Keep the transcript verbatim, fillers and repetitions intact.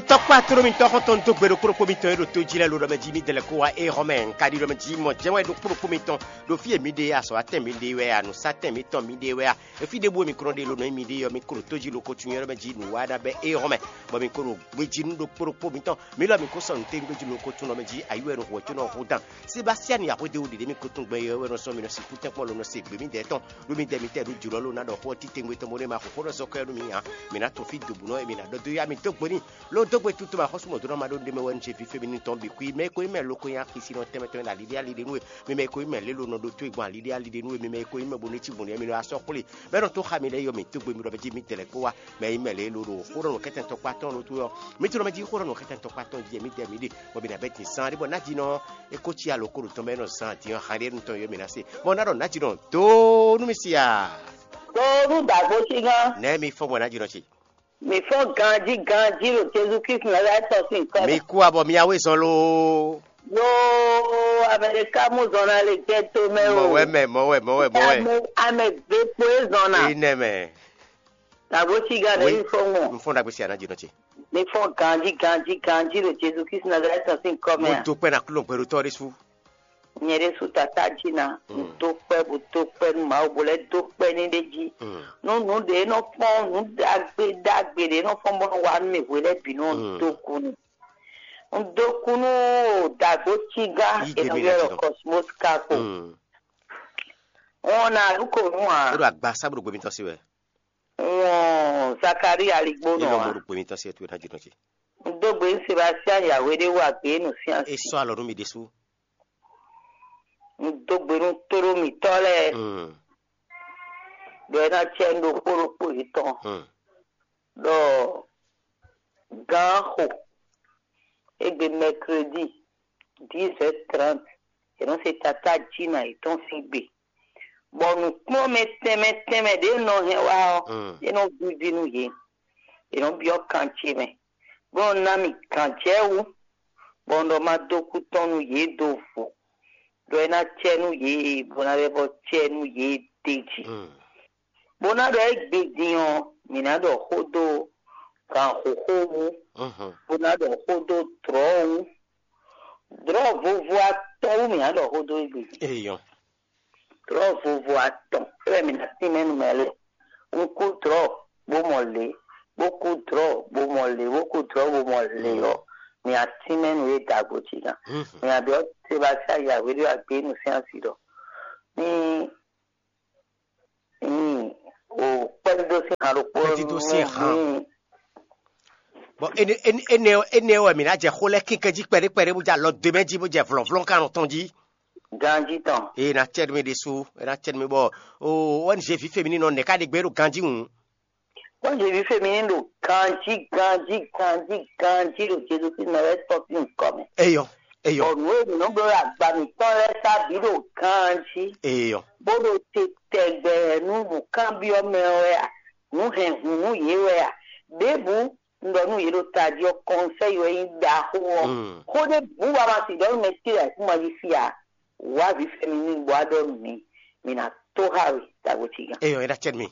Tɔkpá tló mitɔn xɔ́ntɔn dó gbe ɖokpó ɖokpó mitɔn e ɖo tó jí lɛ́ɛ lo ɖɔ mɛ jí mi dɛlɛ kó wá é xɔ mɛ. Un ka ɖi ɖɔ mɛ jí mɔ jɛ́n wɛ ɖokpó ɖokpó mitɔn ɖo fí e mi ɖe azɔ̌ atɛn mi ɖe wɛ a nǔsatɛn mitɔn mi ɖe wɛ a, efi ɖěbǔ e mi ko nɔ ɖe lo nɔ nyi mi ɖe ɔ́, mi ko ɖo tó jí lo ko tunwun ɖɔ mɛ jí nǔ wa ná bɛ é xɔ mɛ, bɔ mi ko ɖo gbejí nú ɖokpó ɖokpó mitɔn. Mi lɔ mi ko sɔ́ nǔ tɛ́ngbéjí lo ko tunwun ɖɔ mɛ jí ayi wɛ nɔ hu ɔ́ có nɔ hu dan. Sebastiani Axwédéwu ɖě mi ko tunwun gbɛ yɔ̌yɔ́ wɛ nɔ sɔ́ mi nɔ sixú tɛ́nkpɔ́n lo nɔ se gbě mi dɛ́ tɔn ɖó mi dɛ mi tɛ ɖó jǒlɔ ló ná ɖɔ xó ɔ́ titewungbe tɔn bó ɖé ma xo xó ɖɔ sɔkɔ́ nú mi ǎ. Mi ná tun fí dobǔnɔ e mi ná ɖɔ dó yá mi dó gbe n'i. Ló dó gbe tutu ma xɔ́sú mɔ̌ dó ná ma ɖó ɖé mɛ wɛ nú ce fífé mi nú tɔn bǐ kú yi mɛ e ko nyí mɛ lo ko nyí akisi nɔ tɛnmɛ tɛnmɛ ɖo aliɖé aliɖé nú we. Mi mɛ e ko nyí mɛ lě lo nɔ ɖó tó e gbɔn aliɖé aliɖé nú we, mi mɛ e ko nyí mɛ bo nú cí gbɔn nǔ mi nɔ wá sɔ́ xwlé. Bɔ é nɔ tó xa mi lɛ́ɛ yɔ mi dó gbe mi ɖɔ mɛ jí mi tɛlɛ kó wá. Mɛ e nyí mɛ lě lo ɖo xó ɖɔ nǔ kɛntɛn tɔkpá tɔn ɖó tó yɔ. Mi tlɔ mɛ jí xó ɖɔ nǔ kɛntɛn tɔkpá tɔn jí mi dɛ mi ɖe, bɔ mi ná bɛ din sán ɖé bɔ ná jí nɔ é ko cí alo ko ɖo tɔn mɛ nɔ zan din ɔ́, han ɖé nu tɔn yɔ mi ná se. Mɔ ná ɖɔ ná jí nɔ dó nú mi si a. Dó nú dǎgbó sí gán. Nɛ̌ mi fɔ́n bɔ ná jí nɔ ce? Mi fɔ́n ganjí ganjí ɖo Jezu Kristu Nazalɛ́ti tɔn sín kɔ. Mi kú abɔ mi awe zɔn loo. Yo, Amerika mú zɔn na le jɛ to mɛ o. Mɔwɛ mɛ, mɔwɛ, mɔwɛ, mɔwɛ. Ame ame ve kpo e zɔn na. Enɛ mɛ. Dǎgbó sí gán ɖe mi fɔ́n mɔ. Mi fɔ́n ɖagbe si aná jí nɔ ce. Mi fɔ́n ganjí ganjí ganjí ɖo Jezu Kristu Nazalɛ́ti tɔn sín kɔ mɛ. Mo do kpɛ na kúlɔ gbɛɖotɔ ɖé sú. Nyɛ ɖésú tatá jí ná, un dó kpɛ́ bó dó kpɛ́ nú Mawu bó lɛ́ dó kpɛ́ ní ɖé jí. Nú nǔ ɖě nɔ fɔ́n, nǔ ɖagbe ɖagbe ɖě nɔ fɔ́n bó nɔ wa nú mì hwe lɛ́ɛ bǐ nú un dó kú n'i. Un dó kú nú dǎgbó cígá è nɔ ylɔ́ ɖɔ Cosmos Kako. Wọn ná lú ko nú ǎ. É ɖo agba sábúɖo gbé mitɔn sí wɛ. Wọn Zakaria aligbó nɔ ǎ. Mɔ ɖo gbé mitɔn sí wɛ tó é ná jínɔ ce. Un dó gbe nú Sebastian Yahweh ɖé wú agbe nú sín asi. É sɔ́ alɔ nú mi ɖésú. Un dó gbe nú tóɖó mǐtɔn lɛ́ɛ ɖɔ é ná cɛ nú ɖokpó ɖokpó yětɔn ɖɔ gǎn xo égbé mɛkredi dix heures trente è nɔ se tatá jí nǎ yětɔn sín gbe, bɔ nǔkplɔ́nmɛ tɛnmɛ tɛnmɛ ɖě nɔ hɛn wá ɔ́, é nɔ víví nú yě. È nɔ byɔ́ kan ce mɛ, bó nɔ ná mì gǎnjɛwú, bɔ un ɖɔ ma dó kú tɔn nú yě do vo, ɖɔ é ná cɛ nú yě, bó ná lɛ́ vɔ cɛ nú yě d'é jí. Bó ná ɖɔ égbé din ɔ́, mǐ ná ɖɔ xó dó gǎnxóxó wú, bó ná ɖɔ xó dó dlɔ̌ wú. Dlɔ̌ vovo atɔn wú mǐ ná ɖɔ xó dó égbé din. Eyɔn. Dlɔ̌ vovo atɔn é wɛ mǐ ná tínmɛ nú mɛ lɛ́ɛ. Un kú dlɔ̌ bó mɔ lě, bó kú dlɔ̌ bó mɔ lě, bó kú dlɔ̌ bó mɔ lě ɔ́, mǐ ná tínmɛ nú yě dǎgbó jí gán. Mǐ ná byɔ́ Sebasía Yahweh ɖó agbé nú sín asi ɖɔ ní ní o kpɛ́dídó sín han ɖokpó Kpɛ́dídó sín han. Bɔn énɛ́ wɛ mǐ ná jɛ xó lɛ́ɛ kínkɛ́n jí kpɛɖé kpɛɖé bó jɛ alɔ dó mɛ jí bó jɛ vlɔ̌vlɔ́ kan tɔn jí. Ganjí tɔn. Ee ná cɛ mi ɖésú, é ná cɛ mi bɔ o wɛn zé vǐ femi nɔ nɛ̌ ká ɖe gbé ɖo ganjí hǔn. Wɛn zé vǐ femi ní ɖo ganjí ganjí ganjí ganjí ɖo Jezu Kristu mɛ wɛ tɔ́ sín nukɔ mɛ. Eyɔ, eyɔ. Bɔ nǔ e mǐ nɔ bló ɖo agba mǐtɔn lɛ́ɛ sá bǐ ɖo ganjí. Eyɔ. Bó ɖo te tɛgbɛ nú nǔkanbyɔ́ mɛ wɛ a, nǔ hɛn hǔn nú yě wɛ a, ɖěbǔ un ɖɔ nú yě ɖo tají ɔ́, kɔnsɛ́yi wɛ nyí ɖaxó ɔ́. Xó ɖé bǔ ba ma si ɖɔ nú mɛ ce ayǐkúngban jí fí ǎ. Wǎ vǐ fɛ́nú n'i bɔ wá ɖɔ nú mǐ, mǐ ná tó xá we, dǎgbó ce gán. Eyɔ, é ná cɛ mi.